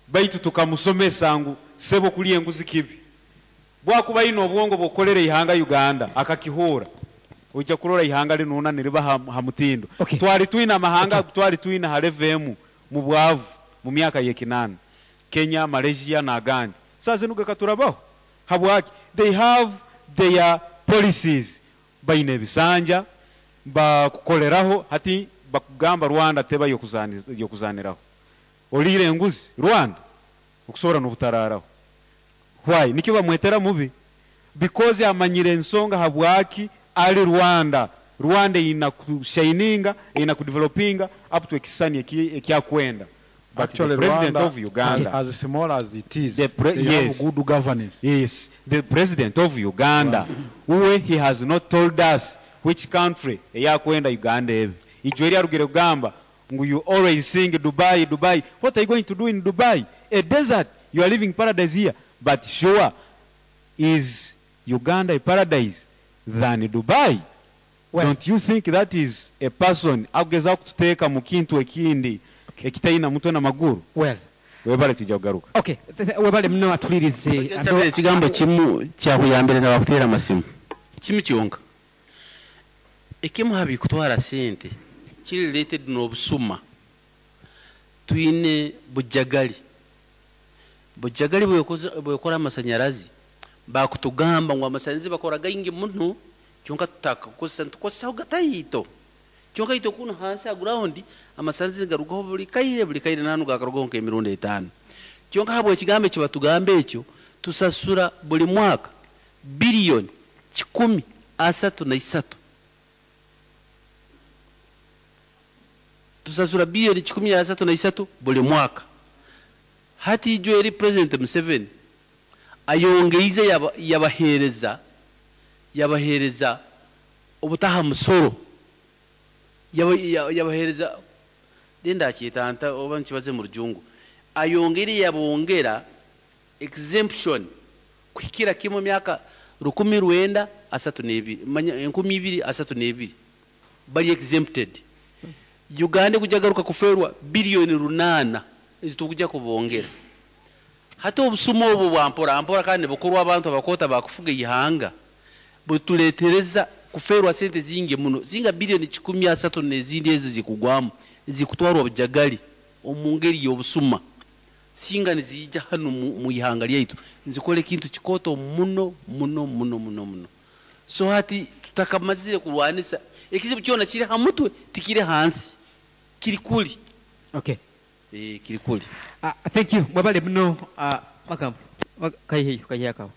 Baitu tukamusomesa ngu sebo kulya enguzi kibi. Bwakuba aine obwongo bw'okukolera ihanga Uganda akakihuura, ojja kurora ihanga linu niriba ha mutindo. Twali twine amahanga, twali twine ha level emu mu bwavu mu myaka y'ekinaana. Kenya, Malaysia n'agandi. Saaha zinu gakaturabaho. Habwaki? They have their policies. Baine ebisanja bakukoleraho, hati bakugamba Rwanda teba y'okuzaniraho. Oliire enguzi Rwanda okusobora n'obutararaho. Why? Nikyo bamwetera mubi. Because amanyire ensonga habwaki ali Rwanda. Rwanda eyina kushininga, eyina kudevelopinga up to ekisani ekyakwenda. But Actually, the president Rwanda, of Uganda, as small as it is, the they yes, have good governance. Yes, the president of Uganda, uwe he has not told us which country eyakwenda Uganda ebe. Ijwe eri arugire kugamba ngu you always sing Dubai, Dubai. What are you going to do in Dubai? A desert. You are living paradise here. But sure, is Uganda a paradise than Dubai? Well, don't you think that is a person akugezaho kututeeka mu kintu ekindi ekitaina mutwe na maguru? Well, webale tujja kugaruka. Okay, webale muno atulirize. Nsabire ekigambo kimu kyakuyambire n'abakutera amasimu. Kimu kyonka. Ekimu ha bikutwara sente kiri related n'obusuma. Twine bujagali. Bujagali bwekora amasanyarazi, bakutugamba ngu amasanyarazi bakora gaingi muno, kyonka tutakakozesa, nitukozesaho gataito. Kyonka itwe kuno hansi ha ground amasanyarazi garugaho buli kaire, buli kaire nanu gakarugaho nk'emirundi 5. Kyonka habwe ekigambo eki batugamba ekyo, tusasura buli mwaka biliyoni kikumi asatu na isatu. Tusasura biliyoni kikumi asatu na isatu buli mwaka. Hati ijwe eri President Museveni ayongeize yabahereza obutaha musoro. Yabahereza denda kyetanta oba nkibaze mu rujungu. Ayongere yabongera exemption kuhikira kimwe myaka rukumi rwenda asatu n'ebiri, manya enkumi ibiri asatu n'ebiri bali exempted. Uganda kujagaruka kuferwa biliyoni 8 ezitujja kubongera. Hati obusumo obwo bwa mpora mpora kandi bukorwa abantu abakota bakufuga ihanga butuletereza kuferwa sente zingi muno, zinga biliyoni kikumi asatu n'ezindi ezi zikugwamu zikutwarwa bujagali omu ngeri y'obusuma. Singa nizijja hano mu ihanga lyaitu nzikole ekintu kikoto muno muno muno muno muno. So hati tutakamazire kurwanisa ekizibu kyona kiri ha mutwe tikiri hansi kiri kuli. Okay. Kiri kuli. Thank you. Mwabale muno, makambo. Kaihe kaihe akawo.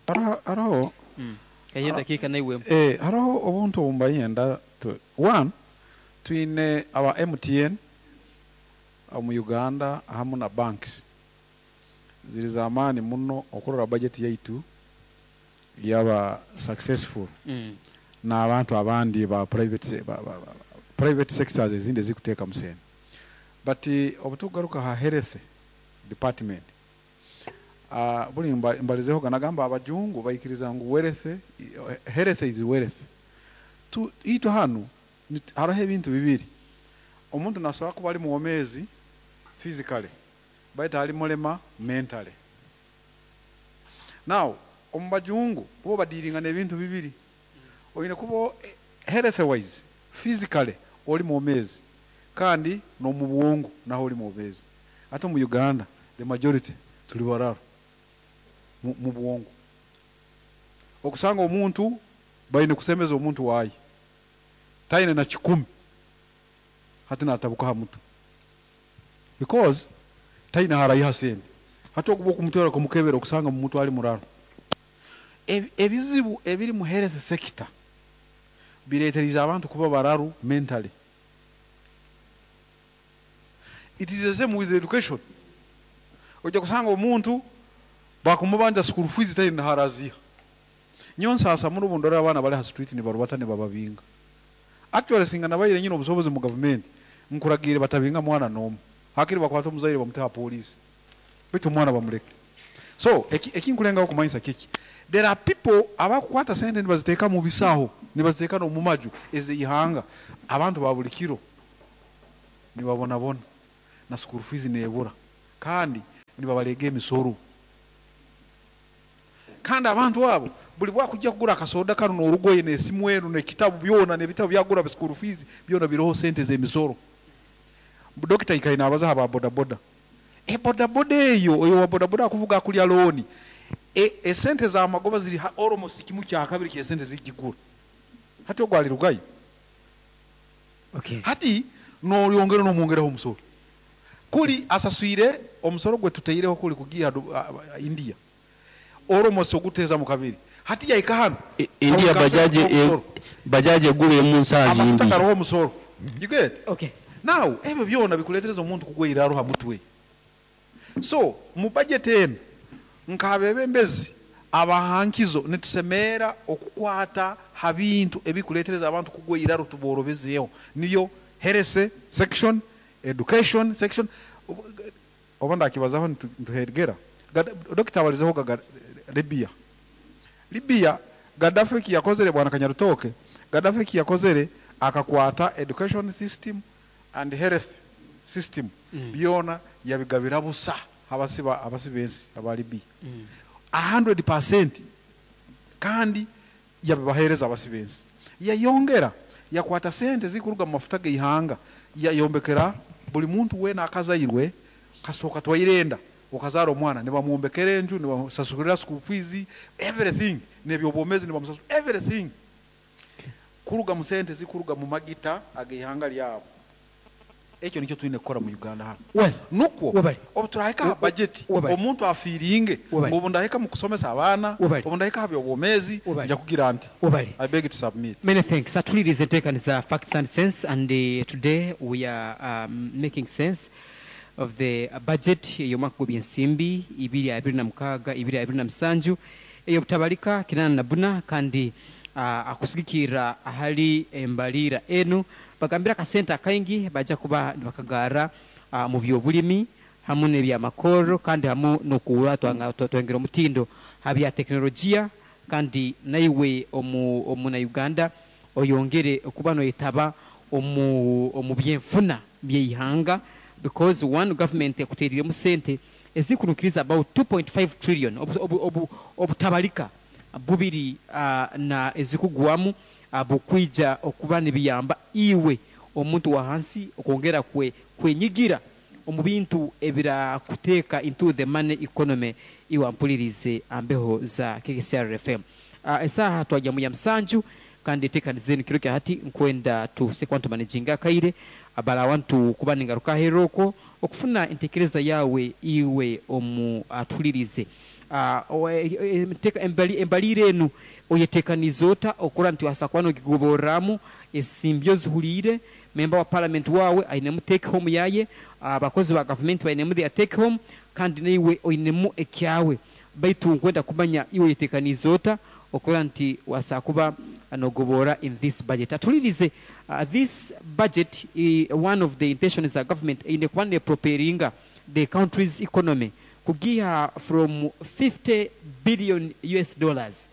Haro. Kaihe dakika na iwe. Haro obuntu obumbayenda one twine aba MTN mu Uganda hamu na banks ziri zamani muno okurora budget yaitu yaba successful. Na abantu abandi ba private private sectors ezindi zikuteka musene. But obutugaruka ha health department, buli mbalizeho ganagamba abajungu baikiriza ngu wealth, health is wealth. Tu ito hanu hariho ebintu bibiri. Omuntu nasobola kuba ali muwomezi physically, baitu ali mulema mentally. Now omu bajungu bo badiringa n'ebintu bibiri. Oyine kuba health wise physically oli muwomezi kandi no mu bwongo naho oli muwomezi. Ate mu Uganda the majority tuli bararo mu bwongo. Okusanga omuntu bayine kusemeza omuntu wayi taine na 10 hati natabuka ha mutwe because taine harayiha sente. Hati okuba okumutwara kumukebera okusanga mu mutwe ali muraro. Ebizibu ebiri mu health sector bireetereza abantu kuba bararu mentally. It is the same with education. Ojja kusanga omuntu bakumubanja school fees taine haraziha. Nyo nsasa muno bundora abaana bali ha street ni barubata ni bababinga. Actually singa nabayire nyine obusobozi mu government nkuragire batabinga mwana nomu. Hakiri bakwata omuzaire bamuteha police. Bitu omwana bamuleke. So ekinkulengaho kumanyisa kiki? There are people abakukwata sente nibaziteeka mu bisaho, nibaziteeka no mu maju ez'ihanga. Abantu ba buli kiro nibabonabona na school fees nebura. Kandi Nibabalega emisoro. Kandi abantu abo buli bwakujja kugura akasoda kano n'orugoye n'esimu enu n'ekitabu byona n'ebitabo byagura school fees byona biroho sente z'emisoro. Dokita ikaine abaza aba boda boda. E boda boda eyo oyo wa boda boda akuvuga akulya looni. Esente za magoba ziri almost kimu kya kabiri ky'esente zigigura. Hati ogwo alirugayo. Okay. Hati n'oyongera n'omwongeraho omusoro. Kuli asaswire omusoro gwe tuteireho kuli kugiha India. Almost oguteza mu kabiri. Hati yaika hano. India bajaji bajaji egula emu nsangi Amafuta mbi. garoho omusoro. You get? Okay. Now ebyo byona bikuletereza omuntu kugwa iraro ha mutwe. So mu budget eno nk'abebembezi abahankizo nitusemeera okukwata ha bintu ebikuletereza abantu kugwa iraro tuborobezeeho, niyo health section, education section. Oba ndakibazaho nituhegera Dokita abalizeho gaga Libya. Libya Gaddafi eki yakozere, bwana Kanyarutoke, Gaddafi eki yakozere akakwata education system and health system byona yabigabira busa abasiba abasibensi aba Libya 100%, kandi yabibahereza abasibensi. Yayongera yakwata sente zikuruga mu mafuta g'eihanga, yayombekera buli muntu wena akazairwe kasooka twairenda okazara omwana nibamwombekera enju, nibamusasulira school fees, everything, n'ebyobwomezi nibamusasula everything kuruga mu sente zikuruga mu magita ag'eihanga lyabo. Ekyo nikyo tulina kukora mu Uganda hano. Well, nukwo webale. Obu turahika ha budget, Webale. omuntu afiiringe Webale. obu ndahika mu kusomesa abaana, Webale. obu ndahika ha byobwomezi, Webale. nja kugira nti Webale. I beg to submit. Many thanks. Atulirize enteekaniza Facts and Sense, and today we are making sense of the budget ey'omwaka gw'ebyensimbi 2026 2027 ey'obutabalika 84, kandi akusigikirra ahali embaliira enu bagambira akasente akaingi bajja kuba nibakagara mu byobulimi hamu n'ebyamakoro, kandi hamu n'okuba twongera omutindo ha bya tekinologiya, kandi naiwe omuna Uganda oyongere okuba noyetaba omu byenfuna by'eihanga, because one government ekuteeriremu sente ezikunukiriza about 2.5 trillion obutabalika bubiri na ezikugwamu bukwija okuba nibiyamba iwe omuntu wa hansi okwongera kwenyigira omu bintu ebirakuteeka into the money economy. Iwe ampulirize ambeho za KCR FM. Esaha twajya mu ya 7, kandi tekanizeni kiro kya hati nkwenda tusekwantu managing akaire abala wantu kuba ningaruka heroko okufuna entekereza yawe iwe omu atulirize. Embalire enu oyetekaniza ota okura nti wasakwano gigoboramu esimbyo zihuliire member wa parliament wawe ainemu take home yaye, abakozi ba government bainemu their take home, kandi naiwe oinemu ekyawe, baitu nkwenda kumanya iwe oyetekaniza ota okura nti wasakuba anogobora in this budget. Atulirize, this budget, one of the intentions za government ine kuba ne propellinga the country's economy kugiha from 50 billion US dollars,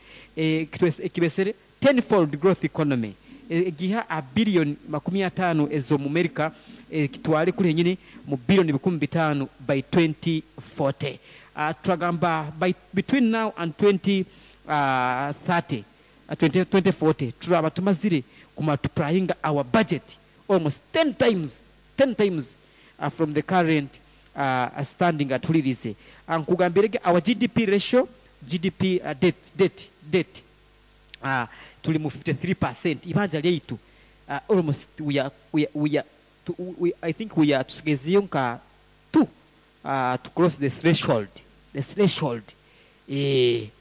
kibesere tenfold growth economy, giha a billion 50 ezo mu America, kitwale kuri nyine mu billion 5,000 by 2040. Twagamba by between now and twenty, thirty, 2040 turaba tumazire kumultiplying our budget almost 10 times, 10 times from the current standing. Atulirize, nkugambirege our GDP ratio, GDP debt tuli mu 53% ibanja lyaitu, almost we are, we are, we are, to, we, I think we are tusigezeyo nka 2 to cross the threshold, the threshold.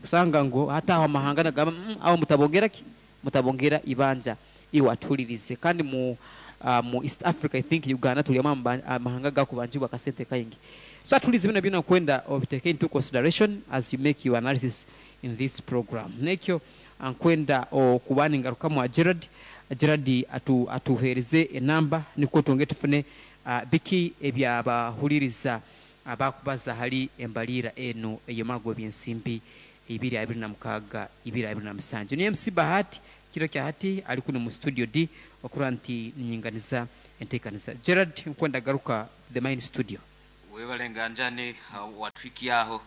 Usanga ngo hata aho amahanga nagamba, aho mutabongera ki mutabongera ibanja. Iwatulirize, kandi mu East Africa I think Uganda tuli amahanga gakubanjibwa akasente kaingi. So atulize bino byona kwenda obiteke into consideration as you make your analysis in this program. Nekyo ankwenda okubani ngaruka mwa Gerard. Gerard atuhereze enamba niko twonge tufune biki ebyabahuliriza abakubaza hali embalira eno eyomago byensimbi 2026 2027. Ni MC Bahati kiro kya hati ali kuno mu studio D okura nti nyinganiza entekaniza. Gerard nkwenda garuka the main studio. Webale nganjani watwikyaho.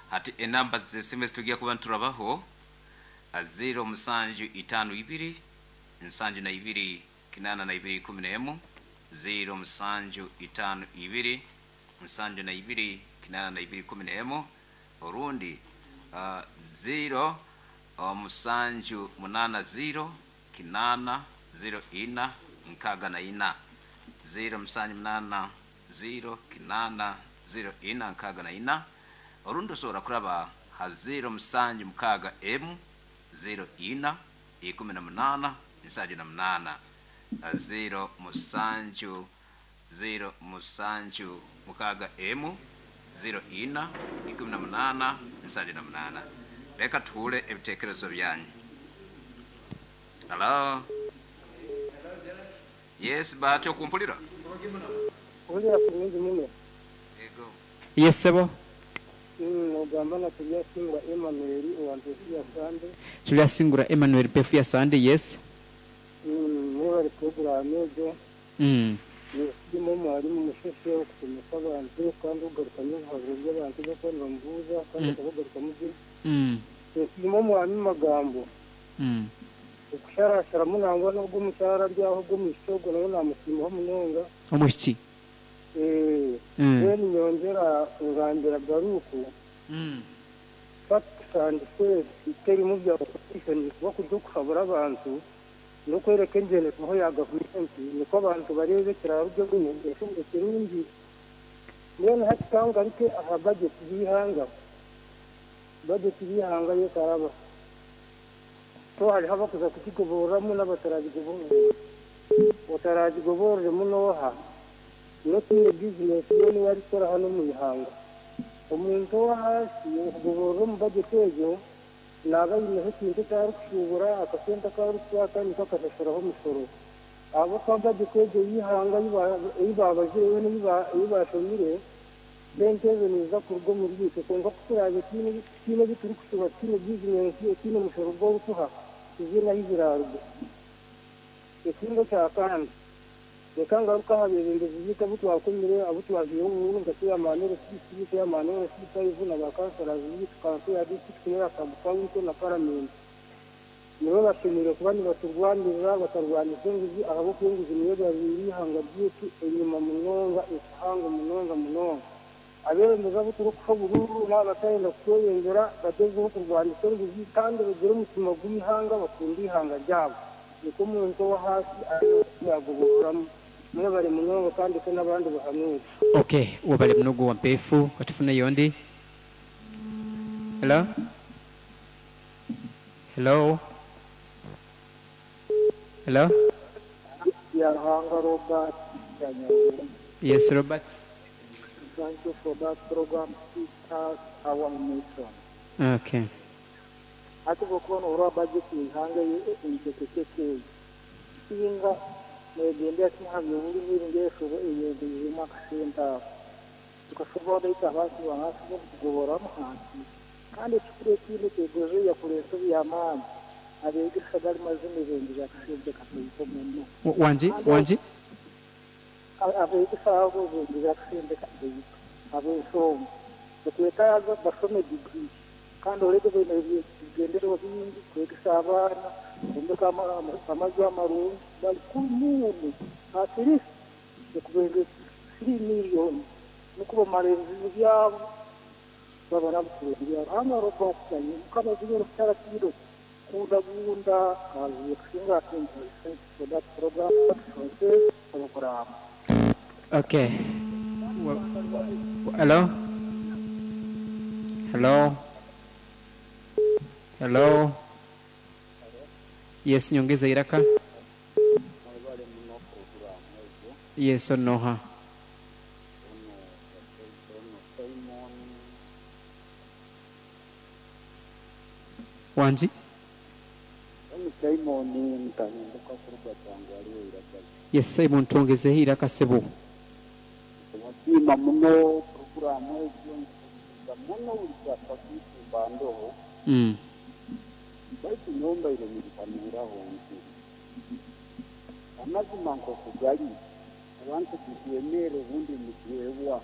Hati enamba z'esimu ezitugiye kuba niturabaho 0752 72 82 11, 0752 72 82 11, orundi 0780 8 04 64, 0780 8 04 64, orundi osobola kuraba ha 076 04 18 78, 07 076 04 18 78. Reka tuhure ebitekerezo byanyu. Hello. Yes, Bahati, okumpulira? Kumpulira kurungi muno. Ego. Yes, sebo. Ogamba na Turyasingura Emmanuel owa Mpefu ya Sande. Turyasingura Emmanuel, Mpefu ya Sande, yes. Mwebale puroguramu egyo. Ndimu omwarimu musheshe okusomesa abantu kandi okugarukamu ebihabuzo by'abantu bakuba nibamubuuza kandi akabagarukamu gye. Esiimu omwami magambo. Okusharasharamu nangwa n'ogwo omukyara ari aho ogwo omwishiki ogwo nawe namusiimaho munonga. Omwishiki. Then nyongyera ngambira Baruku facts and facts terimu bya opposition, kuba kuri okuhabura abantu n'okwereka engyenderwaho ya gavumenti nikwo abantu bareebe ekiraruge bumwe ekirungi. Mbwenu hati kangaruke aha budget y'eihanga. Budget y'eihanga yekaraba. So hariho abakuza kugigoboreramu n'abataragigoborera. Otaragigoboreremu n'oha? N'otiine bizinesi ye niwe arikukora hanu omu ihanga. Omuntu ow'ahaasi okugoborera omu budget egyo naaba aineho ekintu eki arikushuubura, akasente aku arikukwata niko akashashuraho omushoro. Ahabw'okuba budget egyo y'eihanga ei baabazire yoona ei baashomire, sente ezo niziza kuruga omuri itwe. Kwonka ku turaabe tutaine ebi turikushuba, tutaine bizinesi etaine mushoro ogu orikuha, tiziine ahu ziraaruga. Ekindi ekya kandi, reka ngaruke aha beebembezi baitu abu twakomire, abu twahaire obuhuru nka chairman LC3, chairman LC5 na ba councillors baitu, kanso ya district n'eya sub-county na paramenti. Nibo bashemereire kuba nibaturwanirira batarwanisa enguzi, ahabw'okuba enguzi niyo egarwire eihanga ryaitu enyima munonga, ekihango munonga munonga. Abeebembezi abu turikuha oburuuru naaba batayenda kutweyongyera bagyezeho kurwanisa enguzi kandi bagire omutima gw'eihanga, bakunde eihanga ryabo. Nikwo omuntu ow'ahaasi arikuyagoboreramu. Mwebale munonga kandi ko n'abandi bahanuure. Okay, webale muno wa Mpefu, katufuneyo ondi. Hello? Hello? Hello? Yaruhanga Robert Kanyarwanda. Yes, Robert. Thank you for that program. It has our nation. Okay. Ati bwokuba orwa budget y'eihanga eitekekeke singa negendera kimwe aha by'obulimi ngeshobo eyongeiremu akasente ako tukasobora baitu abantu bansi bokutugoboramu hansi. Kandi ekikuru ekindi ekyegozo yakureeta eby'amaani abeegesa bari mazima ebengeza akasente katoito muno. Wangi, wangi? Abeegesa abo bengeza akasente katoito ab'ensonga okwetaaga basome degree kandi oreke baine ebigendererwa bingi kwegesa abaana kwombeka amaju amarungi bari kumuunu at least okubenge 3 million nukwo bamara ebizibu byabo baba nabo kurungi. Hano roba okutanye mukama zigero kukyara kiro kundagunda kazi kusinga thank you for that program. Program. Okay. Hello? Hello? Hello? Yes, nyongeza iraka. Yes, onoha. Wanji? Yes, Simon, tuongeze hii iraka sebo. Sima muno programu ejo muno ulikwafakisi bandoho. Baitu nyomba ile nilipaniraho nti amazima nkokugali abantu tukwemere ubundi mutuebwa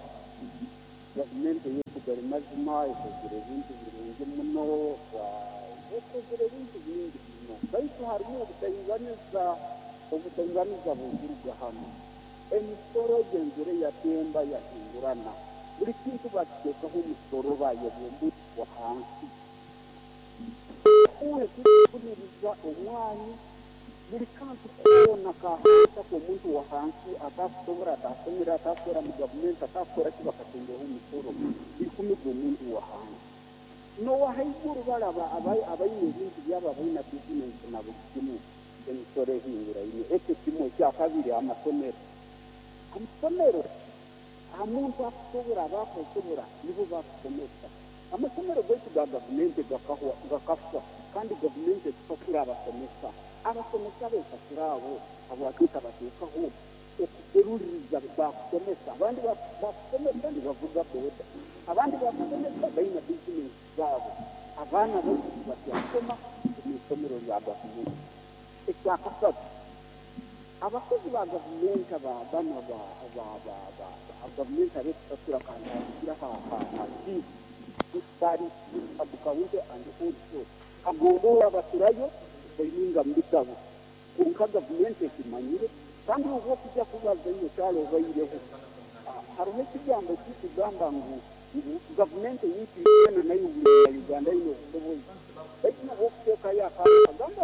Gavumenti ey'okugali mazima ekozire ebintu birungi muno, ekozire ebintu bingi muno, baitu harimu obutainganiza, obutainganiza bukuruga hanu. Emisoro egenzere yatemba yahingurana, buli kintu bakiteekaho omusoro, bayebwa hansi. Kuhuniriza omwani, buli kantu koona kahansi ak'omuntu wa hansi atakusobora, atasomere, atakukora mu gavumenti, atakukora ki, bakatengeho omusoro ikumi gw'omuntu wa hansi. N'owahaiguru balaba abaine ebintu byabo, abaina bizinesi na buli kimu, emisoro ehinguraine. Ekyo kimwe. Ekyakabiri, amasomero. Amasomero, omuntu akusobora, abakusobora nibo bakusomesa. Amasomero gaitu ga gavumenti gakahwa, gakafa, kandi gavumenti etusasura abasomesa. Abasomesa besasura abo, habwaki etabateekaho okuseruliriza bakusomesa? Abandi bakusomesa nibavuga boda, abandi bakusomesa baina bizinesi zaabo. Abaana baitu tibakyasoma omu isomero lya gavumenti. Ekyakasatu, abakozi ba gavumenti, banu ba gavumenti abekusasura, kantandikira ha chief bari sub-county and also kagombora, baturayo baininga mu bitabo, konka gavumenti ekimanyire. Kandi obu okujja kubaza iwe kyalo obaireho, hariho ekigambo ekikugamba ngu gavumenti yitu eno nayo buli Uganda ine obusobozi, baitu nabwo okuteekayo akantu kagamba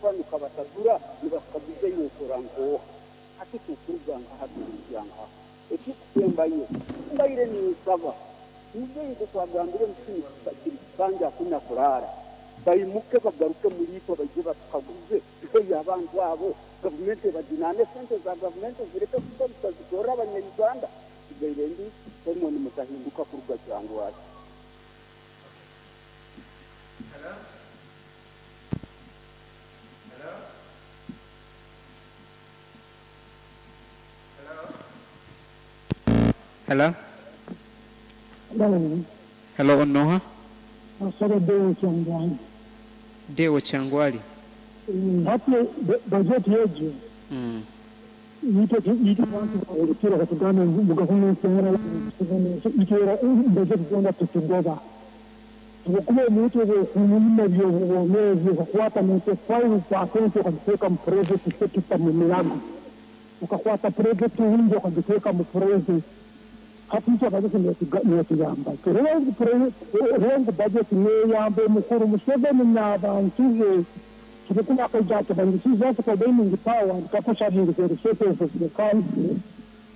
banu kabasatura, nibakaguza iwe okora nkooha? Hati tukuruga nkaha, turumpya nkaha? Ekikusembayo, mbaire ninsaba muzeeyi, nkokwagambire ngu kinu kiri kikanja, hakuna kuraara, baimuke bagaruke muliitwe, baije batukaguze, tuheyo abantu abo, gavumenti ebajunane, sente za gavumenti zireke kukozesa zikorre abanya-Uganda. Sigaire ndi Simon Mutahinduka kuruga Kyangwali. Hello? Hello? Hello? Hello. Hello, onoha? Asaba Deo Kyangwali. Deo Kyangwali. Hati bajeti egyo itwe bantu olukira batugamba ngu gavumenti itwera bajeti zona tutugoba, habwokuba omuntu obwokumulima byobwomeezi okakwata 95% okagiteeka mu private sector, mu mirago, okakwata private wingi okagiteeka mu private. Hati itwe bajeti netuyamba ngu bajeti neyamba omukuru Museveni n'abantu be, habwokuba akaija atabangisiza bargaining power kapusharingi the resources of the country,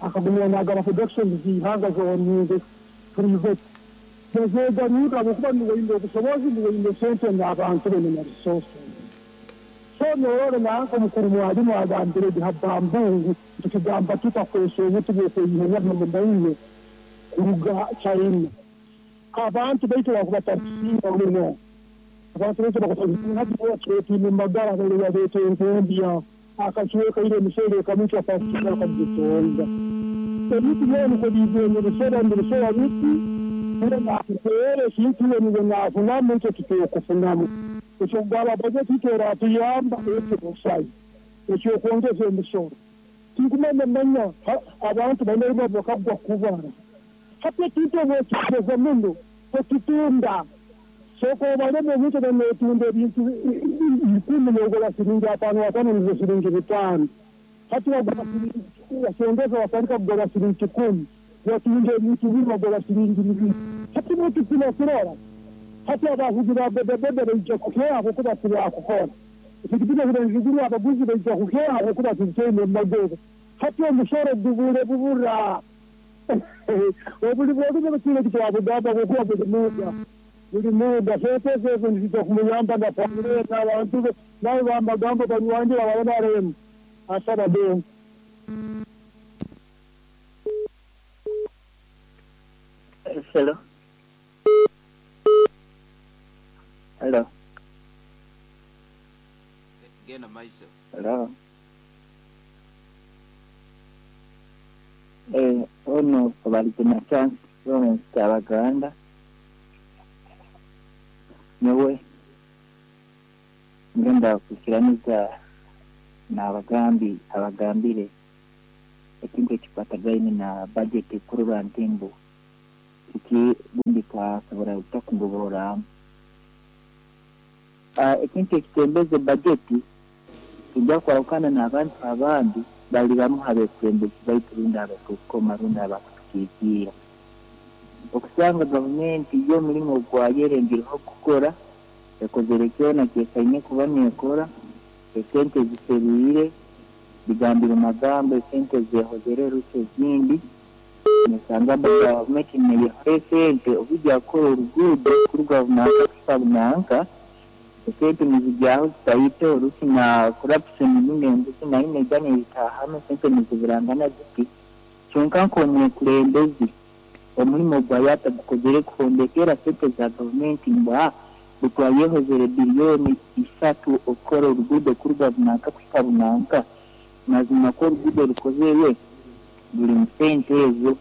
akagumya nagaba productions z'ihanga zoninze private nezegarurra, habwokuba niwe obusobozi, niwe sente n'abantu be na resources. So norora nanka omukuru mwalimu agambire habambungu, tukigamba tutakwesa obuti bwokweyiha mumaine kuruga China. Abantu baitu bakuba batakusiima muno, abantu baitu bakubatwetine magara bale babeta enkumbya akacweka ile emisere ekamutwa pasika akagitonda ebintu byona niko bizenye bisoba nibisoba biti niwe nakukwera ekintu iwe niwe nafunamu, itwe tutokufunamu. Ekyokugaba bajeti itwe eratuyamba ekyo busayi, ekyokwongeza emisoro tinkumanya manya abantu baine bakagwa kubara. Hati ekintu obwokigeza muno tokitunda, soko obalemu ebintu banetunda ebintu 10 nogora siringi 5, 5 nizo siringi 5. Hati wagura siringi, wasongeza watandika kugora siringi 10, watunda ebintu biri wagora siringi 2. Hati bwekipima kurora hati abavugi ba bodaboda baija kukeha habwokuba tibakukora, epikipiki zibenziguru, abaguzi baija kukeha habwokuba tibitaine mumagoba. Hati omusoro gubure bubura obuli bwolume butwine kitwabugamba habwokuba buli muda sente ezo nizija kumuyamba na familia n'abantu be nawe bamagambo banywanyi babanaremu asaba deo. Hello. Hello. Genda maiso. Hello. Ono Kabalipina Chance Lawrence Kyabaganda. Nyowe ngenda kukiraniza n'abagambi abagambire ekintu ekikwatagaine na budget kurora nti ngu Eki bundi twasobora kutakugoborramu. Ekintu ekitembeze bajeti kijya kwahukana n'abantu abandi bali bamu abekulembezi baitu rundi abatukoma rundi abakutukiikiira. Okusanga gavumenti y'omulimu gwayo erengireho kukora, ekozere kyona kyesaine kuba neekora, esente ziserwire, bigambire magambo esente zehozere rusi ezindi, nosanga gavumenti neyehola esente obujja kukora oruguudo kuruga bunanka kuhika bunanka, esente nizigyaho zitaito rusi na corruption rundi enguzi nayo neija nezitaahamu esente niziburangana ziti. Kyonka nk'omwekulembezi omulimo gwayo atagukozere kuhondekera sente za gavumenti ngu butwayehozere 3 billion okukora oruguudo kuruga bunanka kuhika bunanka, mazima ko oruguudo rukozerwe buli mu sente ezo.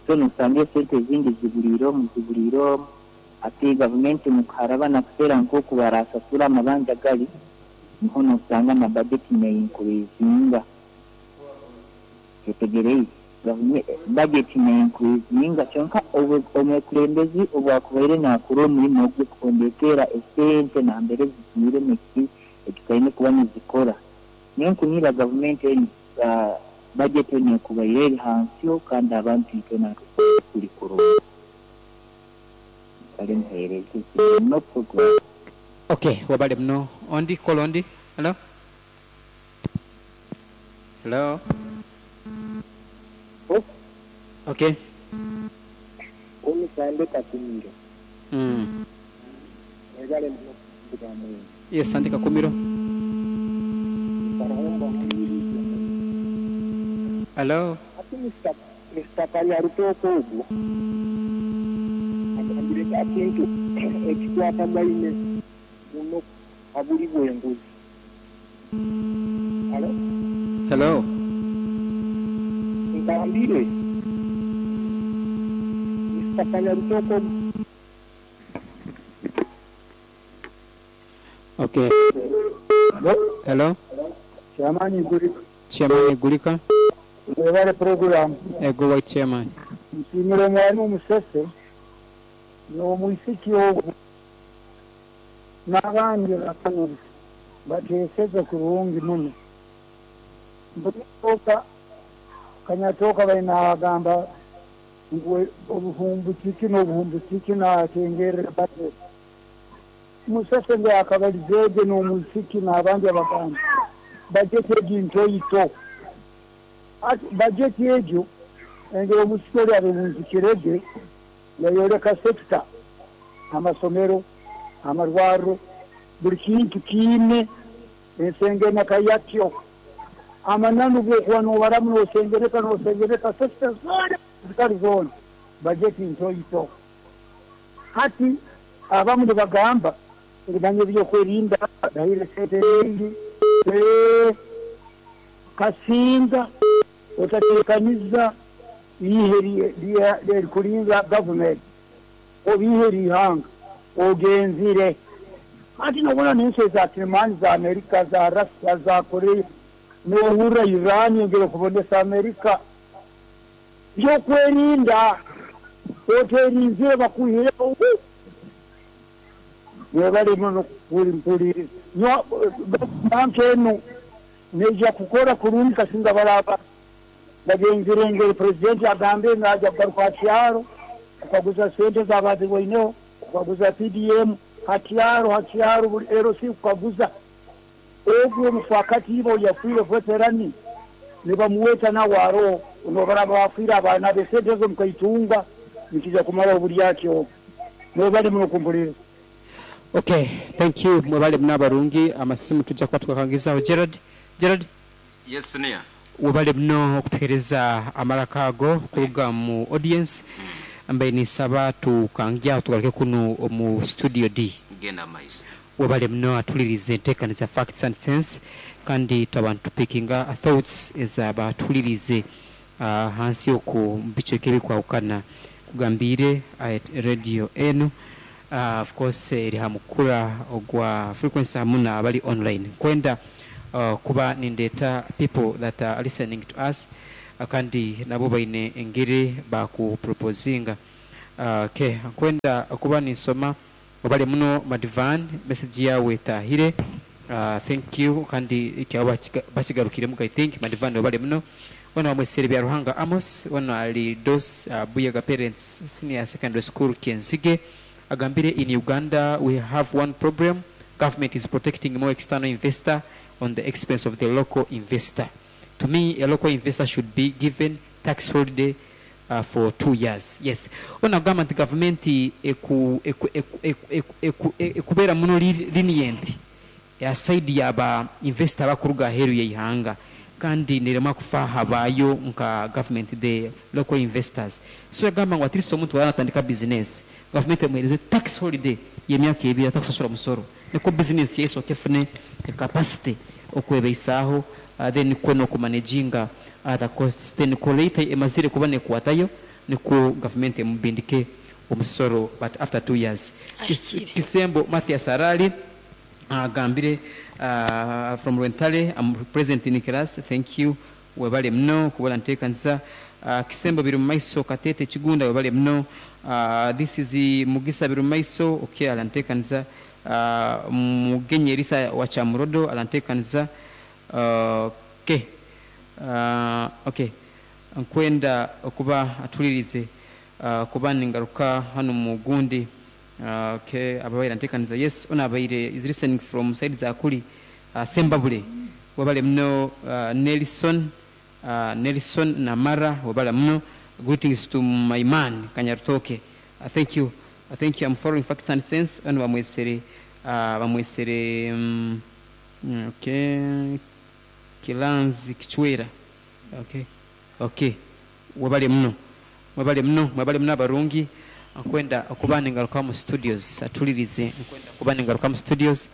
So nosanga esente ezindi zibuliire omu zibuliire omu, ate gavumenti mukuharaba nakuseera nk'oku barasasura amabanja gali, niho nosanga na budget neincreasinga. Kyetegereize budget neincreasinga, kyonka omwekulembezi obwakubaire nakora omulimo gwe kuhondekera esente nambere zigiire neki ekitaine kuba nizikora. Niyo nkunira gavumenti enu budget enu ekubaire eri hansiho kandi abantu itwena tuli kurungi. Kale muheereze no program. Okay, wabale muno. Ondi kola ondi. Hello, hello. Okay. Omusande Kakumiro. Mwebale muno kuvuga mwenu. Yes, Sande Kakumiro. Barahomba mpuliriza. Hello. Ati Mr. Kanyarutoko ogwo agambire ekintu ekikwatagaine muno abuli bw'enguzi. Hello? Hello. Ngambire Mr. Kanyarutoko. Okay. Hello. Chairman Gulika. Chairman Gulika. Mwebale program. Ego white chairman. Nsiimire omwalimu Musese n'omwisiki ogwo n'abandi bapanelist bateeseze kurungi muno. Mbulioka Kanyatoka baina agamba ngu obuhumbu kiki n'obuhumbu kiki natengerera budget. Musese nge akabalizeege n'omwisiki n'abandi abagamba budget egi ntoito. Ati budget egyo engeri omusiki oli abebunzikirege yayoleka sector, amasomero, amarwariro, buli kintu kiine ensengeneka yakyo. Amananu bwokuba nobaramu nosengereka nosengereka sector zoona zikali zoona, bajeti ntoito. Hati abamu nibagamba ngu manya ebyokwerinda bahire sente nyingi. Kasinga otatekaniza ihe erikulinda gavumenti oba ihe rihanga ogenzire. Hati nobona n'ensi eza kirimani za Amerika, za Russia, za Korea, nohurra Iran yongere kubonesa Amerika byokwerinda oterinzire bakuhireho. Mwebale muno mpuliriza. Banka enu neija kukora kurungi kasinga baraba bagenzire engeri purezidenti agambe ngaja kugaruka hakyaro kukaguza sente zabazibwaineho, kukaguza PDM hakyaro hakyaro buli LC kukaguza ogwo omufakati ibo yafiire veterani nibamuweta nawe aroho nobaraba bafiire abaana be sente ezo mukaitunga nikija kumara oburyaki obwo. Mwebale muno kumpuliriza. Okay, thank you. Mwebale muno abarungi amasimu tujja kuba tukakangizaho. Gerard, Gerard. Yes, senior. Webale muno okutuheereza amaraka ago kuruga mu audience. Mbaire ninsaba tukangyaho tugaruke kuno omu studio D. Genda maiso. Webale muno atulirize enteekaniza Facts and Sense, kandi twaba nitupikinga thoughts ezabatulirize hansi oku mu bicweka ebikwahukana kugambiire radio enu, of course eri ha mukura ogwa frequency hamu n'abali online. Kwenda kuba nindeeta people that are listening to us, kandi nabo baine engeri bakuproposinga. Okay, nkwenda okuba ninsoma. Webale muno Madivan, message yawe etahire. Thank you, kandi ekyo bakigarukiremu, I think. Madivan, webale muno. Ono bamwesere bya Ruhanga Amos, ono ali Dos Buyaga Parents Senior Secondary School Kyenzige, agambire, in Uganda we have one problem: government is protecting more external investor on the expense of the local investor. To me, a local investor should be given tax holiday for 2 years. Yes, ono agamba nti gavumenti ekubeera muno lenient ya side yaba investor abakuruga aheeru yeihanga, kandi nerema kufa habayo nka government, the local investors. So yagamba ngu at least omuntu waba natandika business, gavumenti emuhereze tax holiday y'emyaka 2, atakusasura musoro, niko business yesooka efune capacity okwebeisaaho, then nikwo n'okumanaginga other costs, then niko later emazire kuba nekwatayo, nikwo gavumenti emubindike omusoro, but after 2 years. Kisembo Mathias Arali agambire, from Rwentale, I'm present in class. Thank you, webale muno kubona nteekanisa. Kisembo biri mumaiso Katete Kigunda, webale muno. This is Mugisa biri mumaiso. Okay, alanteekanisa. Mugenyi Erisa wa Chamurodo alanteekanisa. Okay, nkwenda okuba atulirize, kuba ningaruka hano mu gundi. Okay, ababaire anteekaniza. Yes, ono abaire is listening from side zakuli Sembabule, webale muno. Nelson Namara, webale muno. Greetings to my man Kanyarutoke. Thank you, thank you. I'm following Facts and Sense. Ono bamwesere okay, Kilanzi Kichwera. Okay, webale muno, mwebale muno, mwebale muno abarungi. Nkwenda okuba ningaruka mu studios, atulirize. Nkwenda kuba ningaruka mu studios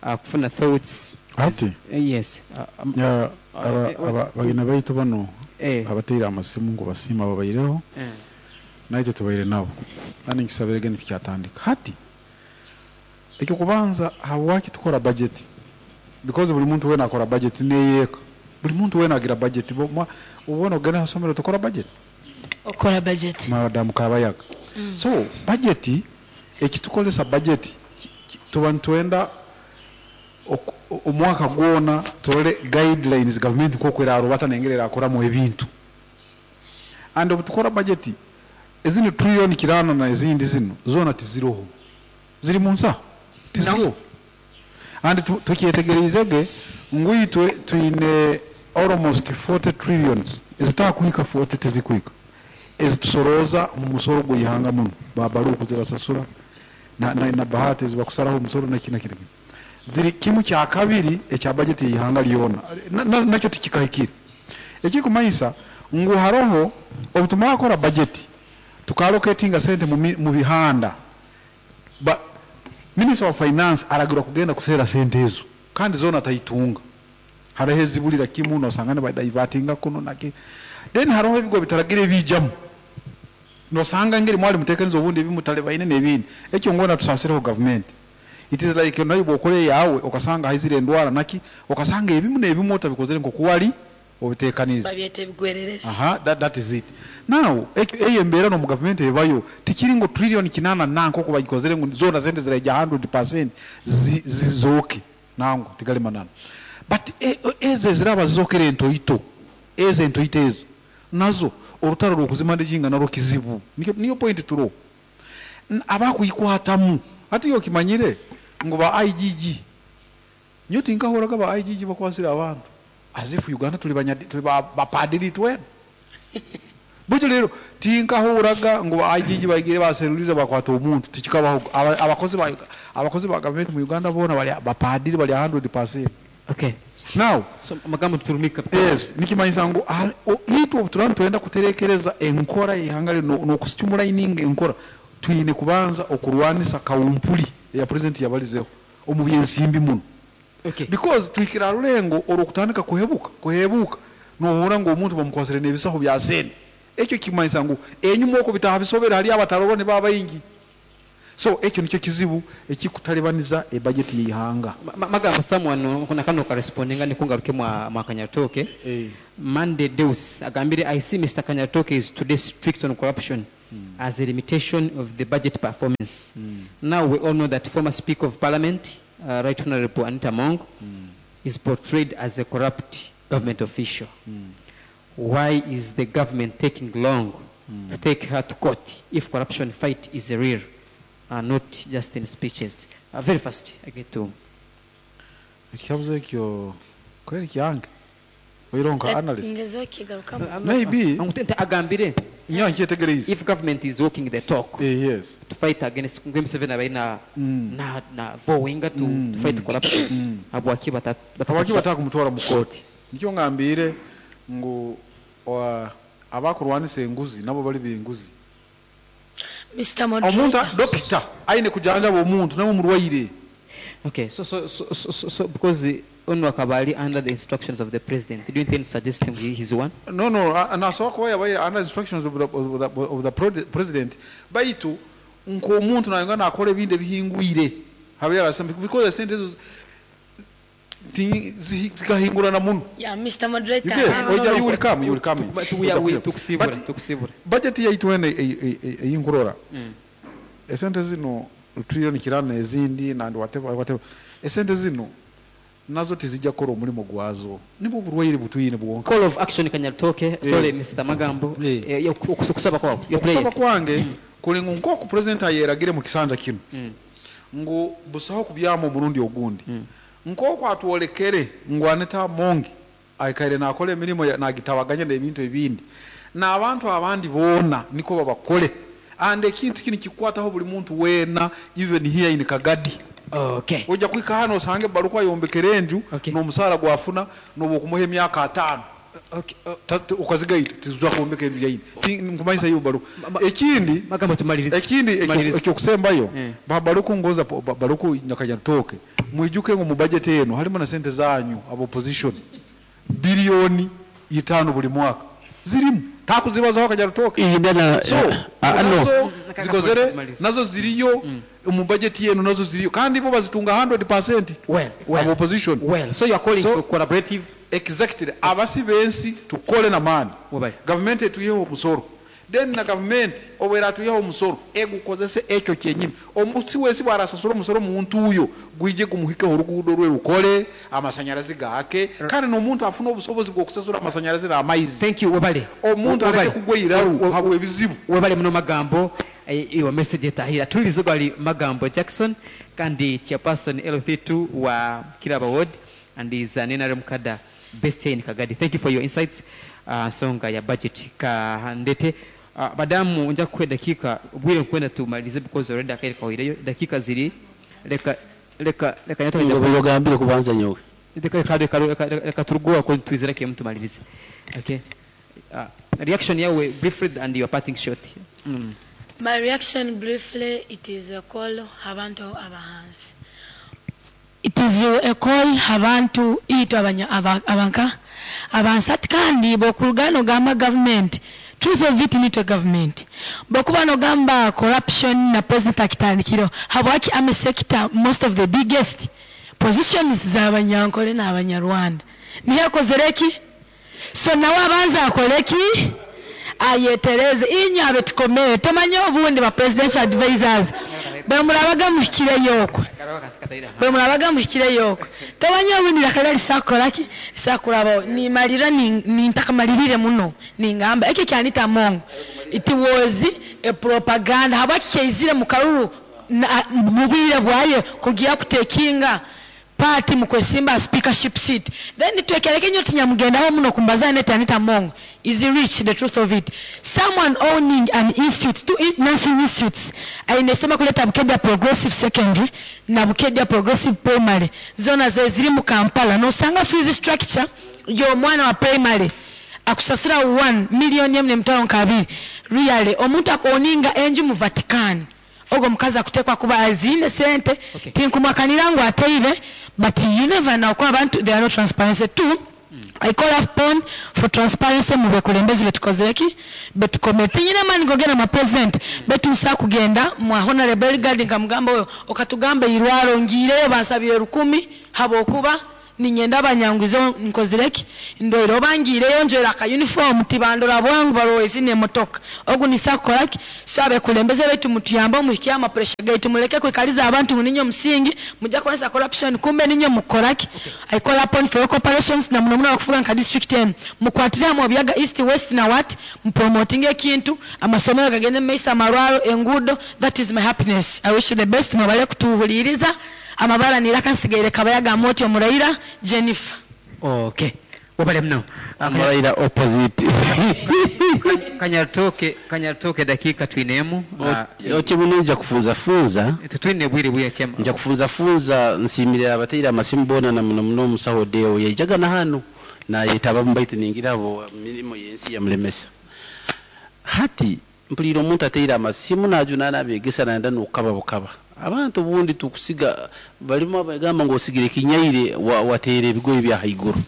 kufuna thoughts. Ati? Yes. Ya, bagina baitu bano abateire amasimu ngu basiima babaireho, naitwe tubaire nabo, kandi nkisabirege nitukyatandika hati. Ekyokubanza, habwaki tukora budget? Because buli muntu wena akora budget neyeeka, buli muntu wena agira budget. Ubona ogenda hasomero, tukora budget. Okora budget. Madamu Kabayaga. So budget, ekitukolesa budget, tuba nitwenda omwaka gwona turole guidelines government nk'oku erarubata nengeri erakoramu ebintu. And obu tukora budget, ezino trillion 8 na ezindi zino zona tiziroho, ziri mu nsaho, tiziroho. And tukyetegereizege ngu itwe twine almost 40 trillions ezitakuhika 40, tizikuhika, ezitusorooza mu musoro gw'ihanga muno, babaruku zibasasura na bahati ezibakusaraho omusoro, naki naki naki, ziri kimu kya kabiri ekya budget y'ihanga lyona, nakyo tikikahikire. Ekikumanyisa ngu haroho obu tumara kukora budget, tukaalocatinga sente mu bihanda, ba minister wa finance aragirwa kugenda kuseera sente ezo, kandi zona ataitunga. Hariho ezibulira kimu, nosanga nibadivertinga kuno naki. Then hariho ebigo bitaragira ebijamu, nosanga ngeri mwali mutekaniza obundi ebimu talebaine n'ebindi. Ekyo ngona tusasireho government. It is like nayo bwokora yawe, okasanga haizire endwara naki, okasanga ebimu n'ebimu otabikozere nkoku wali obitekanize. Babyeta ebigwererezi. Aha, that is it. Now, eyo embeera no mu government ebayo, tikiri ngo trillion 8 na nkoko bagikozere ngo zona sente ziraija 100% zizooke, nango tigali manana. But ezo eziraba zizokere entoito, ezo entoito ezo nazo orutaro rw'okuzimanaginga narwo kizibu. Niyo point turo abakuyikwatamu ati yo kimanyire ngo ba IGG, nyo tinkahoraga ba IGG bakwasira abantu as if Uganda tuli banyadi, tuli bapadiri twena. Butyo rero tinkahuraga ngo ba IGG bagire baseruliza bakwata omuntu, tikikabaho. Abakozi ba government mu Uganda bona bali bapadiri, bali 100%. Now, So amagambo turumika. Yes, nikimanyisa ngu itwe obu turaba nitwenda kuterekereza enkora y'ihanga rino n'okustimulayininga enkora, twine kubanza okurwanisa kawumpuli eya president yabalizeho omu byensimbi muno. Because tuhikira rulengo olwokutandika kuhebuka, nohura ngu omuntu bamukwasire n'ebisaho bya sente. Ekyo kimanyisa ngu enyuma okwo bitaha bisobera, hali abatarorwa ni baba baingi. So ekyo nikyo kizibu ekikutalibaniza ebudget y'ihanga. Magambo someone kuna kano karespondinga, nikungaruke mwa Kanyatoke. Mande Deus agambire, I see Mr. Kanyatoke is today strict on corruption. As a limitation of the budget performance. Now we all know that former Speaker of Parliament, Right Honorable Anita Among, is portrayed as a corrupt government official. Why is the government taking long to take her to court if corruption fight is real and not just in speeches? Very fast, I get to. Ekibuzo ekyo kweri kyange oironka analyst. Ngezeho kigarukamu. Maybe. Agambire. Nyo nkyetegereze. If government is walking the talk yes. to fight against Museveni abaire na vowinga to fight corruption, habwaki habwaki batakumutwara mu kooti? Nikyo ngambire ngu abakurwanisa enguzi nabo bali benguzi. Mr. Omuntu Moderator. Dokita aine kujanjaba omuntu nawe omurwaire. Okay, so because ono akaba ali under the instructions of the president, do you intend to suggest him he's one? No, nasobola kuba yabaire under instructions of the president, baitu nk'omuntu nayenga nakora ebintu ebihingwire habyara because esente ezo zikahingurana muno. Yeah, Mr. Moderator. You get? Oja, you will come, you will come. Tukusibura, But tukusibura. Budget yaitu ene eyinkurora esente zino trillion kirana ezindi nandi whatever whatever, esente zino nazo tizijja kukola omulimu gwazo, nibwo burwaire butwine bwonka. Call of action, Kanyarutooke, sorry, Mr. Magambo, okusaba kwawe, your prayer. Okusaba kwange kuli ngu nk'oku president ayeragire mu kisanja kino ngu busaho kubyama omurundi ogundi, nk'oku atwolekere ngu Anita Among aikaire nakola emirimu nagitabaganya n'ebintu ebindi n'abantu abandi boona niko babakole, and ekintu kini kikwataho buli muntu weena, even here in Kagadi. Ojja kuhika hano osange baluku ayombekera enju n'omusaara gwafuna n'obwokumuha emyaka 50 ukazigaita tizuza kwombeka enju yaine. Nkumanyisa iyo baluku. Ekindi Magambo, tumalirize. Ekindi Tumalirize. Ekyokusembayo, baluku ngoza baluku Nyakanyarutooke, mwijuke ngu mu budget eno harimo na sente zanyu aba opposition, biliyoni 5 buli mwaka zirimu takuzibazaho Kanyarutooke. Indana So no. nazo zikozere, nazo ziriyo mu budget yenu, nazo ziriyo kandi bo bazitunga 100% Well, aba opposition. Well, so you are calling So, for collaborative. Exactly, abasi bensi tukole na maani. Wabali. Gavumenti etuyeho omusoro, then na gavumenti obwera atuyeho omusoro egukozese ekyo kyenyini. Omusi wesi bwarasasura omusoro omuntu uyo gwije gumuhikeho, oruguudo rwe rukole, amasanyarazi gaake, kandi n'omuntu afuna obusobozi bw'okusasura amasanyarazi n'amaizi. Thank you, wabale. Omuntu Wabale. aleke kugwa iraru habwa ebizibu. Webale muno Magambo, iyo message etahira tulirize. Gwali Magambo Jackson kandi chairperson LC2 wa Kiraba Ward and is an NRM cadre based here in Kagadi. Thank you for your insights. Nsonga ya budget ka ndete madamu nja kukuwa dakika bwire nkwenda tumalize because already akaire kawireyo dakika ziri reka reka reka nyato. Ngo bigambire kubanza nyowe. Reka reka reka reka reka turuguwa ko twizera ke mutumalirize. Okay, reaction yawe briefly and your parting shot. My reaction briefly, it is a call abantu abahansi. It is a call abantu itwe abanya abanka abansati kandi bokurugano gamba government, truth of it, nitwe government bokuba nogamba corruption na president akitandikiro habwaki army sector, most of the biggest positions z'abanyankole n'abanyarwanda niyo akozere ki? So nawe abanza akole ki? Ayetereze. Inyo abetukomere tomanye obundi ba presidential advisors bwemurabaga muhikireyo okwe, bwemurabaga muhikireyo okwe, tomanye obundi rakara lisakoraki lisakurabaho. Nimalira nintakamalirire muno ningamba ekyo kyanita Among, it was a propaganda. Habwaki kyaizire mu karuru mu bwire bwaye kugira kutekinga party mukwesimba speakership seat? Then twekereke nyo tinyamugendaho muno kumbaza net. Anita Among is rich, the truth of it. Someone owning an institute, two nursing institutes, ainesoma kuleta Bukedia Progressive Secondary na Bukedia Progressive Primary, zona ze ziri mu Kampala, nosanga fees structure y'omwana wa primary akusasura 1 million emu nemitwalo nkabiri. Really, omuntu akoninga enju mu Vatican, ogwo omukazi akutekwa kuba aziine sente. Tinkumwakanira ngu ateire, but you never know, kuba abantu they are not transparency. Two, I call upon for transparency mu bekulembezi betukozeki betukomere. Tinyina mani gogenda mwa president betusa kugenda mwa honorable Elgard nkamugamba oyo okatugamba irwaro ngireyo bansabire 1,000 habwokuba Ninyenda banyanguzeho nkozire ki? Ndwaire oba ngiireyo njwaire aka uniform tibandora bwangu barora ezi n'emotoka. Ogu nisa kukora ki? So abekulembeze baitu mutuyambe muhikye ama pressure gaitu, muleke kwikaliza abantu ngu ninywe musingi, mujja kurwanisa corruption kumbe ninywe mukukora ki? I call upon for your cooperations na muno muno abakufuga nka district enu. Mukwatire hamwe Obuyaga East, West na what? Mupromotinge ekintu, amasomero gagende mumaiso, amarwaro, enguudo, that is my happiness. I wish you the best, mwebale kutuhuliiriza. Amabara niraka nsigaire Kabayaga Amooti Omuraira Jennifer. Okay. Webale muno. Omuraira opposite. Kanyarutooke, Kanyarutooke dakiika twine emu. Oti muno nja kufunzafunza. Titwine bwire bwingi chema. Nja kufunzafunza nsiimire abateire amasimu boona na muno muno omusaho Deo yaijaga na hanu nayetabamu baitu ningira abo mirimo y'ensi yamulemesa. Hati mpuliire omuntu ateire amasimu najunaana abegesa nayenda n'okukaba bukaba. Abantu obundi tukusiga balimu abagamba ngu osigire ekinyaire wateera ebigoye bya haiguru.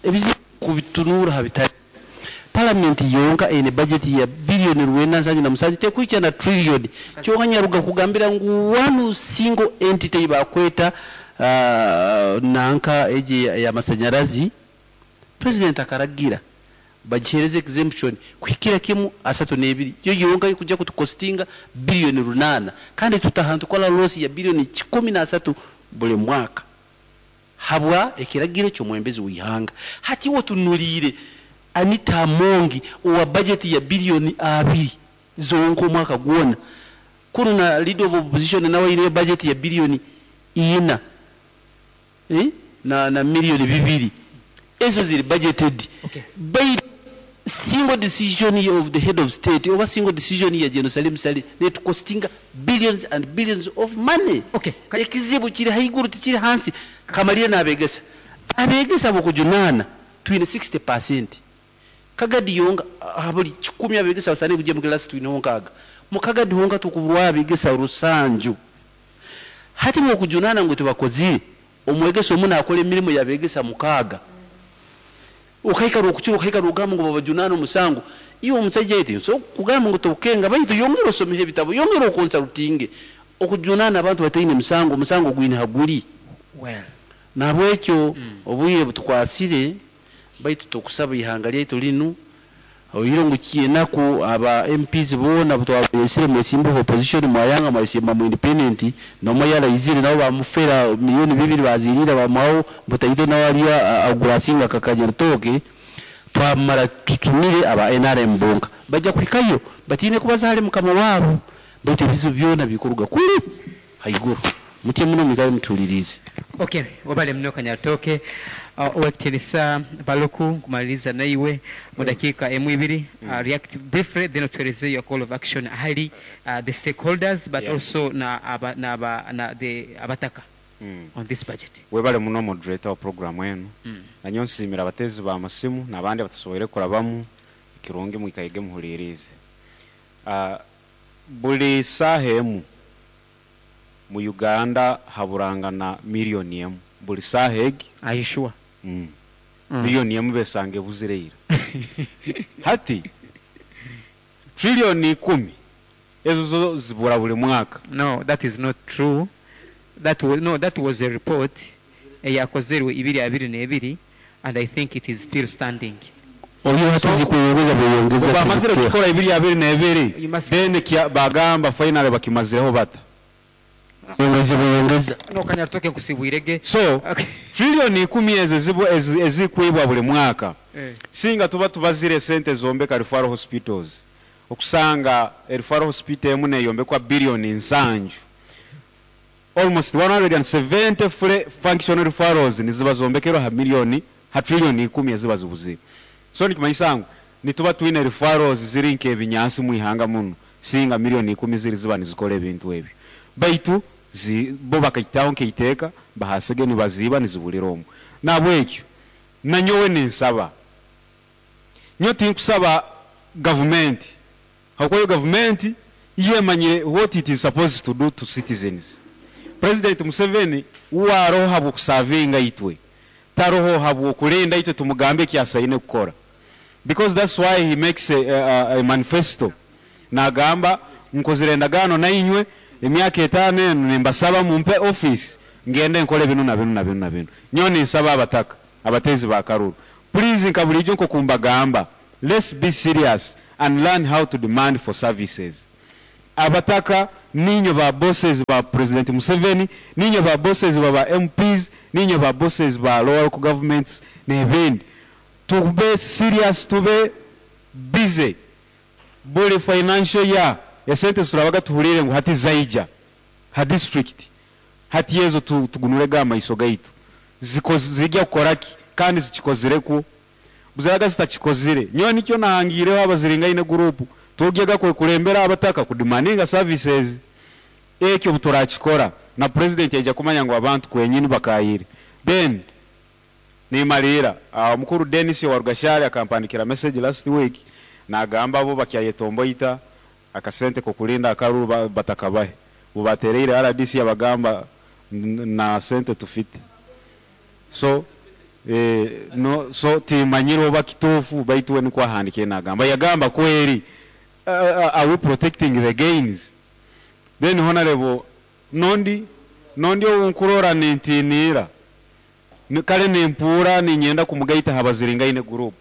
Ebizibu kubitunuura ha bitari. Palamenti yonka eine bajeti ya biliyoni 977 tekuhikya na triliyoni. Kyonka nyaruga kugambira ngu one single entity eyibakweta nanka egi ey'amasanyarazi, president akaragira bagihereze exemption kuhikira kimu 32, yo yonka ekujja kutukostinga biliyoni 8, kandi tutaha ntukora loss ya biliyoni 130 buli mwaka habwa ekiragiro ky'omwembezi w'ihanga. Hati iwe otunuliire Anita Amongi owa budget ya biliyoni 2 zonka omwaka gwona, kunu na leader of opposition nawe aineyo budget ya biliyoni 4 na miliyoni 2, ezo ziri budgeted. Baitu single decision of the head of state oba single decision ya General Salim Saleh netukostinga billions and billions of money. Ekizibu kiri haiguru tikiri hansi. Kamalire n'abegesa. Abegesa b'okujunaana twine 60%. Kagadi yonka ha buli 100 abegesa basaanire kugya mu class twineho 60. Mu Kagadi honka tukuburwaho abegesa 7. Hati b'okujunaana ngu tibakozire, omwegesa omu naakora emirimo y'abegesa 6. Okaikara okukira okaikara ogamba ngu babajunaana omusango. Iwe omusaija eti nsobola kugamba ngu tokukenga baitu yongera osomeho ebitabo, yongera okonsultinge. Okujunaana abantu bataine musango, omusango gwine ha guli. Nahabwekyo obwire butukwasire baitu tukusaba ihanga lyaitu linu oihireho ngu kyenaku aba MPs boona butwabeesire mwesimbeho opposition mwayanga mwayesimba mu independent nomwe yaraizire nabo bamufera miliyoni 2 bazirira bamuhaho butaito nawe aliyo agurasinga Kakanyarutooke twamara tutumire aba NRM bonka bajja kuhikayo batiine kubaza hali mukama wabo baitu ebizibu byona bikuruga kuli haiguru. Mutye muno mwikale mutuliriize. Okay, webale muno Kanyarutooke. Owekitinisa Baluku, nkumaliriza naiwe mu dakiika emu ibiri. React briefly then otuhereze your call of action ahali the stakeholders but also na aba, na aba, na the abataka on this budget. Webale muno moderator wa program enu. Nanyowe nsiimire abateezi b'amasimu n'abandi abatasoboire kurabamu, ekirungi mwikaige muhuliiriize. Buli saaha emu mu Uganda haburangana miliyoni emu buli saaha egi. Are you sure? Miliyoni emu besanga ebuzire ira. Hati triliyoni 10 ezo zo zibura buli mwaka. No, that is not true. That was, no, that was a report eyakozerwe ibiri abiri n'ebiri and I think it is still standing. Oyo hati zikweyongeza bweyongeza. Bamazire tizikukira. kukora ibiri abiri n'ebiri, You must then bagamba finally bakimazireho bata. Bweyongeza bweyongeza. No, Kanyarutooke nkusibwirege. So triliyoni 10 ezo ezikwibwa buli mwaka. Singa tuba tubazire sente zombeka referral hospitals. Okusanga referral hospital emu neyombekwa biliyoni 7. Almost 170 functional referrals niziba zombekerwa ha miliyoni, ha triliyoni 10 eziba zibuzire. So nikimanyisa ngu nituba twine referrals ziri nk'ebinyansi mu ihanga muno. Singa miliyoni 10 ziri ziba nizikora ebintu ebyo. Baitu bo bakaitaho nk'eiteeka bahasige nibaziiba nizibulira omwo. Nabwekyo nanyowe ninsaba. Nyowe tinkusaba gavumenti. Habwokuba gavumenti yemanyire what it is supposed to do to citizens. President Museveni uwaroho habw'okusavinga itwe. Taroho habw'okulinda itwe tumugambe ekyasaine kukora. Because that's why he makes a manifesto. Nagamba nkozire endagaano nainywe emyaka 5 enu nimbasaba mumpe office. Ngende nkole binu na binu na binu na binu. Nyowe ninsaba abataka, abateezi ba karuru, please, nka buliijo nkokumbagamba, let's be serious and learn how to demand for services. Abataka ninywe ba bosses ba President Museveni, ninywe ba bosses ba ba MPs, ninywe ba bosses ba local governments n'ebindi. Tube serious, tube busy. Buli financial year esente ziturabaga tuhuliire ngu hati zaija ha district, hati ezo tugunurege amaiso gaitu, zigya kukora ki kandi zikikozirekwo? Buziraga zitakikozire. Nyowe nikyo nahangiireho abaziringaine group, tugyega kwekulembera abataka kudemandinga services. Ekyo obuturakikora, na president aija kumanya ngu abantu kwenyini bakayire. Then nimaliira, omukuru Denis owa Rugashari akampandikira message last week, nagamba abo bakyayetomboita akasente kokulinda akaruru batakabahe. Bubatereire RDC yabagamba na sente tufite. So no, so timanyire oba kituufu, baitu we nikwo ahandikiire nagamba. Yagamba kweri, are we protecting the gains? Then honorable nondi owunkurora nintiniira, kale nimpuura ninyenda kumugaita habaziringaine group.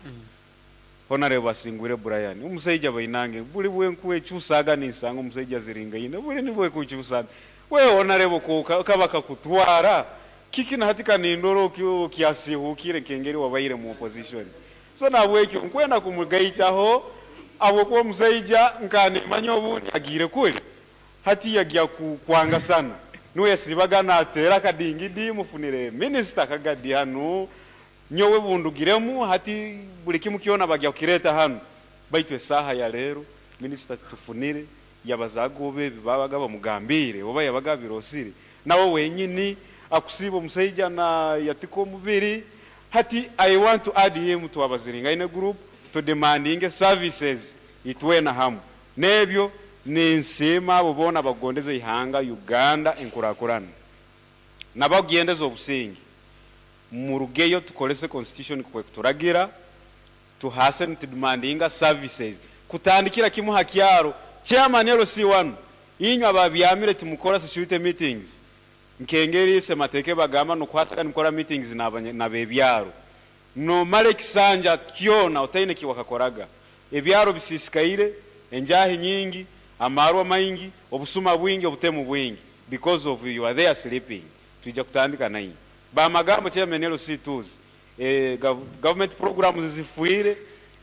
Honorable Asingwire Brian, omusaija bainange, buli bwenkuekyusaga ninsanga omusaija aziringaine, buli nibwekukyusa. We honorable kaba kakutwara, kiki na hati kanindora okyasihukire nkengeri wabaire mu opposition. So nabwekyo nkwenda kumugaitaho abwokuba omusaija nkanimanya obundi agiire kuli, hati yagya kwanga sana. Niwe yasibaga natera akadingidi, mufunire minisita kagadi hanu, nyowe bundugiremu hati buli kimu kyona bagya kukireta hanu. Baitu esaha ya leero minisita tufunire, yabazaga oba ebi babaga bamugambire oba yabaga birosire, nawe wenyini akusiba omusaija na yatika omubiri. Hati I want to add him to abaziringaine group to demanding services itwena hamu. Nebyo ninsiima abo boona bagondeza ihanga Uganda enkurakurana nabagyendeza obusinge. Murugeyo tukolese constitution kwe kuturagira, tuhase nitudemandinga services kutandikira kimu ha kyaro. Chairman LC1, inywe ababyamire timukora security meetings nkengeri semateke bagamba nokuhasaga nimukora meetings nabebyaro, nomara ekisanja kyona otaine kiwakakoraga. Ebyaro bisisikaire, enjahi nyingi, amarwa maingi, obusuma bwingi, obutemu bwingi, because of you are there sleeping. Tuija kutandika nainyi bamagambo chairman LC2s, government programs zifuire.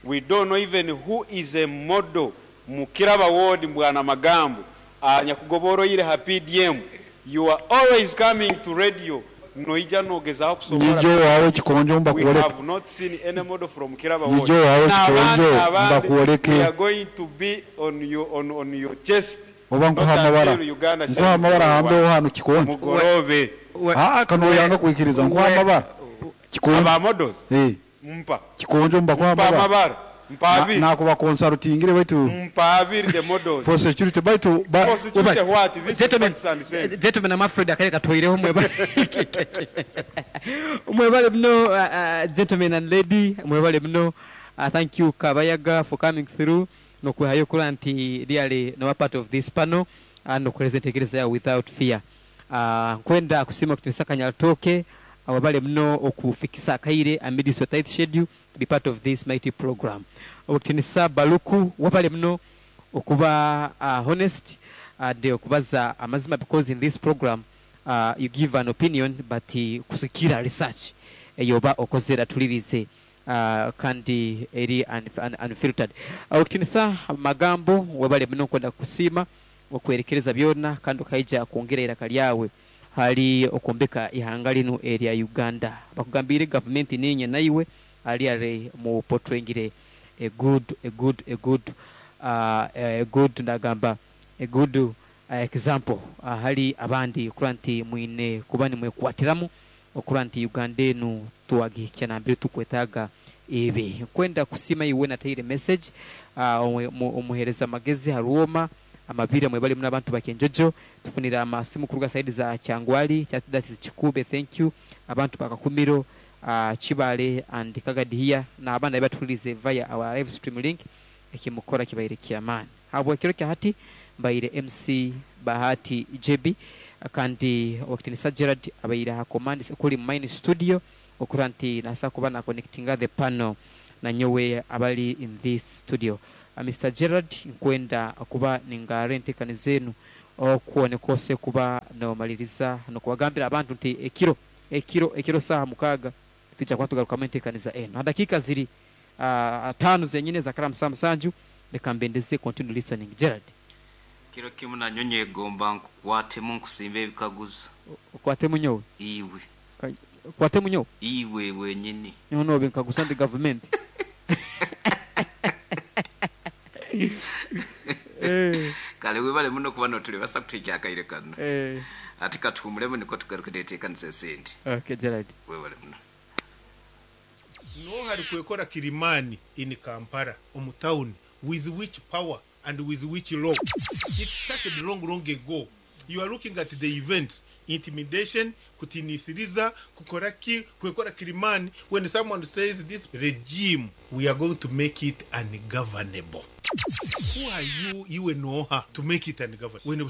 We don't know even who is a model mukiraba ward mbwana magambo anyakugoboroire ha PDM. You are always coming to radio noija nogezaho kusobora. Nijo wawe kikonjo mbakuoleke. We have not seen any model from Kiraba ward. Nijo wawe kikonjo mbakuoleke. We are going to be on your, on your chest. Oba nkuha amabara. Nkuha amabara hambe hano kikonjo. Mugorobe. Kano yanga kuikiriza nkuha amabara. Kikonjo. Aba models. Mpa. Kikonjo mbakuha amabara. Mpa abiri. Nakuba consultingire baitu. Mpa abiri the models. For security baitu. For security what? This is facts and sense. Gentlemen, I'm afraid akale katoireho mwebale. Mwebale mno, gentlemen and lady, mwebale mno. Thank you Kabayaga for coming through. Nokwehayo kula nti really no part of this panel and nokueleza entegereza without fear. Nkwenda kusima kutinisa Kanyarutooke ababale mno okufikisa akaire amidst your tight schedule to be part of this mighty program. Okutinisa Baluku wabale mno okuba honest and okubaza amazima, because in this program you give an opinion but kusikira research eyoba okozera tulirize kandi eri unfiltered. Okutinisa magambo wabale mno kwenda kusima okwerekereza byona kandi okaija kwongera iraka lyawe hali okombeka ihanga lino erya Uganda. Bakugambire government ninye naiwe ali are mu portrayingire a good ndagamba a good example hali abandi kuranti mwine kuba ni mwekwatiramu okuranti Uganda enu tuwagicha na mbiri tukwetaga ibi. Kwenda kusima iwe na taire message omuhereza magezi haruoma amabira mwebali muna abantu bakenjojo tufunira amasimu kuruga side za Kyangwali that is Chikube, thank you abantu bakakumiro Chibale and Kagadiya na abana batulize via our live stream link ekimukora kibaire kiamani habwa kiro kya hati mbaire MC Bahati JB Kandi owekitinisa Gerald abaire aha command kuri mine studio okura nti nasa kuba na connectinga the panel nanyowe abali in this studio. Mr Gerald, nkwenda kuba ningara entekaniza enu okwo nikose kuba nomaliriza nokubagambira abantu nti ekiro ekiro ekiro saaha 6 tujja kuba tugarukamu entekaniza enu. Ha dakiika ziri 5 zenyine za karamu saa 7, leka mbendeze continue listening. Gerald. Kiro kimu nanyo nyegomba nkukwatemu nkusimba ebikaguzo. Okwatemu nyowe? Iwe. Okwatemu nyowe? Iwe wenyini. Nyowe nobe nkaguza ndi gavumenti. Kale webale muno kuba notulebasa kutuhikya akaire kano. Ati katuhumulemu niko tugaruke neteekanisa esente. Okay, Gerald. Webale muno. No hari kwekora Kilimani in Kampala omu town with which power and with which law? It started long, long ago. You are looking at the events, intimidation, kutinisiriza, kukoraki, kwekora Kilimani. When someone says this regime, we are going to make it ungovernable. Who are you, iwe noha, to make it ungovernable? When